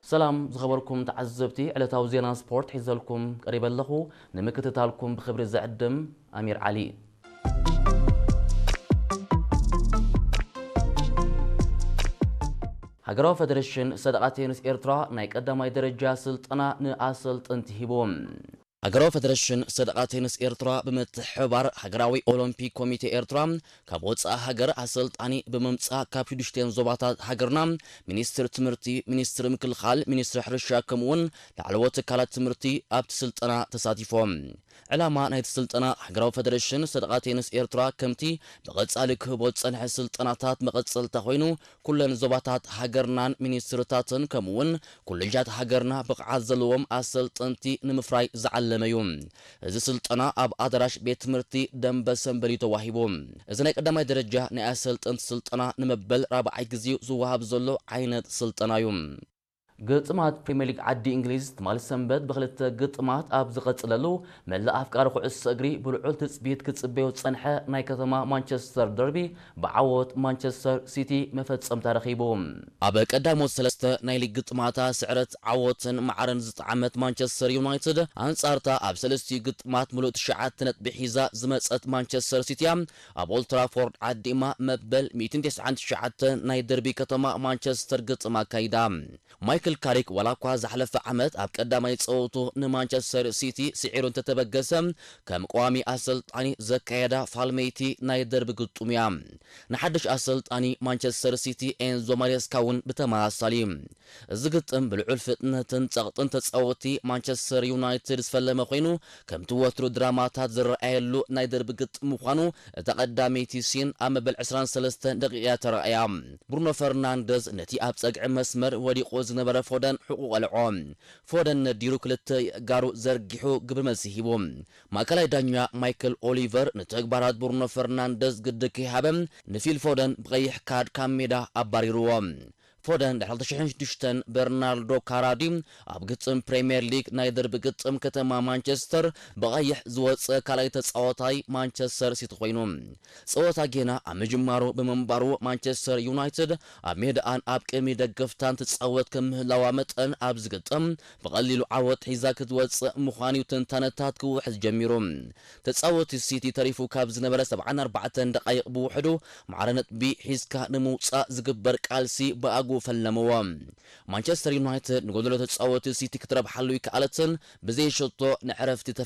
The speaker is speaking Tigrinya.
ሰላም ዝኸበርኩም ተዓዘብቲ፣ ዕለታዊ ዜና ስፖርት ሒዘልኩም ቀሪበ ኣለኹ። ንምክትታልኩም ብኽብሪ ዝዕድም ኣሚር ዓሊ። ሃገራዊ ፈደረሽን ሰደቓ ቴኒስ ኤርትራ ናይ ቀዳማይ ደረጃ ስልጠና ንኣሰልጠንቲ ሂቡ። ሃገራዊ ፈደረሽን ሰደቓ ቴኒስ ኤርትራ ብምትሕብባር ሃገራዊ ኦሎምፒክ ኮሚቴ ኤርትራ ካብ ወጻኢ ሃገር ኣሰልጣኒ ብምምጻእ ካብ ሽዱሽተን ዞባታት ሃገርና ሚኒስትር ትምህርቲ፣ ሚኒስትር ምክልኻል፣ ሚኒስትር ሕርሻ ከምኡውን ላዕለዎት ትካላት ትምህርቲ ኣብቲ ስልጠና ተሳቲፎም። ዕላማ ናይቲ ስልጠና ሃገራዊ ፈደረሽን ሰደቓ ቴኒስ ኤርትራ ከምቲ ብቐጻሊ ክህቦ ዝጸንሐ ስልጠናታት መቐጸልታ ኮይኑ ኩለን ዞባታት ሃገርናን ሚኒስትርታትን ከምኡውን ኮሌጃት ሃገርና ብቕዓት ዘለዎም ኣሰልጠንቲ ንምፍራይ ዝዓለመ እዩ። እዚ ስልጠና ኣብ ኣዳራሽ ቤት ትምህርቲ ደንበ ሰንበል እዩ ተዋሂቡ። እዚ ናይ ቀዳማይ ደረጃ ናይ ኣሰልጠንቲ ስልጠና ንመበል ራብዓይ ግዜኡ ዝወሃብ ዘሎ ዓይነት ስልጠና እዩ። ግጥማት ፕሪምየር ሊግ ዓዲ እንግሊዝ ትማሊ ሰንበት ብክልተ ግጥማት ኣብ ዝቐጽለሉ፣ መላእ ኣፍቃሪ ኩዕሶ እግሪ ብልዑል ትጽቢት ክጽበዮ ዝጸንሐ ናይ ከተማ ማንቸስተር ደርቢ ብዓወት ማንቸስተር ሲቲ መፈጸምታ ረኺቡ። ኣብ ቀዳሞት ሰለስተ ናይ ሊግ ግጥማታ ስዕረት ዓወትን ማዕረን ዝጠዓመት ማንቸስተር ዩናይትድ፣ ኣንጻርታ ኣብ ሰለስቲኡ ግጥማት ምሉእ ትሽዓተ ነጥቢ ሒዛ ዝመጸት ማንቸስተር ሲቲ እያ ኣብ ኦልትራፎርድ ዓዲማ መበል ሚእትን ተስዓን ትሽዓተን ናይ ደርቢ ከተማ ማንቸስተር ግጥም ኣካይዳ። ማይክል ካሪክ ዋላ እኳ ዝሓለፈ ዓመት ኣብ ቀዳማይ ጸወቱ ንማንቸስተር ሲቲ ስዒሩ እንተተበገሰ፣ ከም ቀዋሚ ኣሰልጣኒ ዘካየዳ ፋልመይቲ ናይ ደርቢ ግጥሙ እያ። ንሓድሽ ኣሰልጣኒ ማንቸስተር ሲቲ ኤንዞ ማሬስካ እውን ብተመሳሳሊ። እዚ ግጥም ብልዑል ፍጥነትን ጸቕጥን ተጻወቲ ማንቸስተር ዩናይትድ ዝፈለመ ኮይኑ፣ ከምቲ ወትሩ ድራማታት ዝረኣየሉ ናይ ደርቢ ግጥም ምዃኑ እታ ቀዳመይቲ ሲን ኣብ መበል ዕስራን ሰለስተን ደቂቕ እያ ተራእያ። ብሩኖ ፈርናንደዝ ነቲ ኣብ ጸግዒ መስመር ወዲቑ ዝነበረ ፎደን ሕቑ ቀልዖ። ፎደን ነዲሩ ክልተ ኣእጋሩ ዘርጊሑ ግብረ መልሲ ሂቡ። ማእከላይ ዳኛ ማይክል ኦሊቨር ንተግባራት ብሩኖ ፈርናንደዝ ግዲ ከይሃበ ንፊል ፎደን ብቐይሕ ካርድ ካብ ሜዳ ኣባሪርዎ። ፎደን ድሕሪ ክልተ ሽሕን ሽዱሽተን በርናርዶ ካራዲ ኣብ ግጥም ፕሪምየር ሊግ ናይ ደርቢ ግጥም ከተማ ማንቸስተር ብቐይሕ ዝወጸ ካልኣይ ተጻዋታይ ማንቸስተር ሲቲ ኮይኑ። ጸወታ ጌና ኣብ ምጅማሩ ብምንባሩ ማንቸስተር ዩናይትድ ኣብ ሜዳኣን ኣብ ቅድሚ ደገፍታን ትጻወት ከም ምህላዋ መጠን ኣብዚ ግጥም ብቐሊሉ ዓወት ሒዛ ክትወጽእ ምዃኑ እዩ ትንታነታት ክውሕዝ ጀሚሩ። ተጻወቲ ሲቲ ተሪፉ ካብ ዝነበረ ሰብዓን ኣርባዕተን ደቓይቕ ብውሕዱ ማዕረ ነጥቢ ሒዝካ ንምውጻእ ዝግበር ቃልሲ ብኣግኡ ፈለምዎ። ማንቸስተር ዩናይትድ ንጎደሎ ተጻወቲ ሲቲ ክትረብሓሉ ይከኣለትን ብዘይ ሸቶ ንዕረፍቲ ተፈ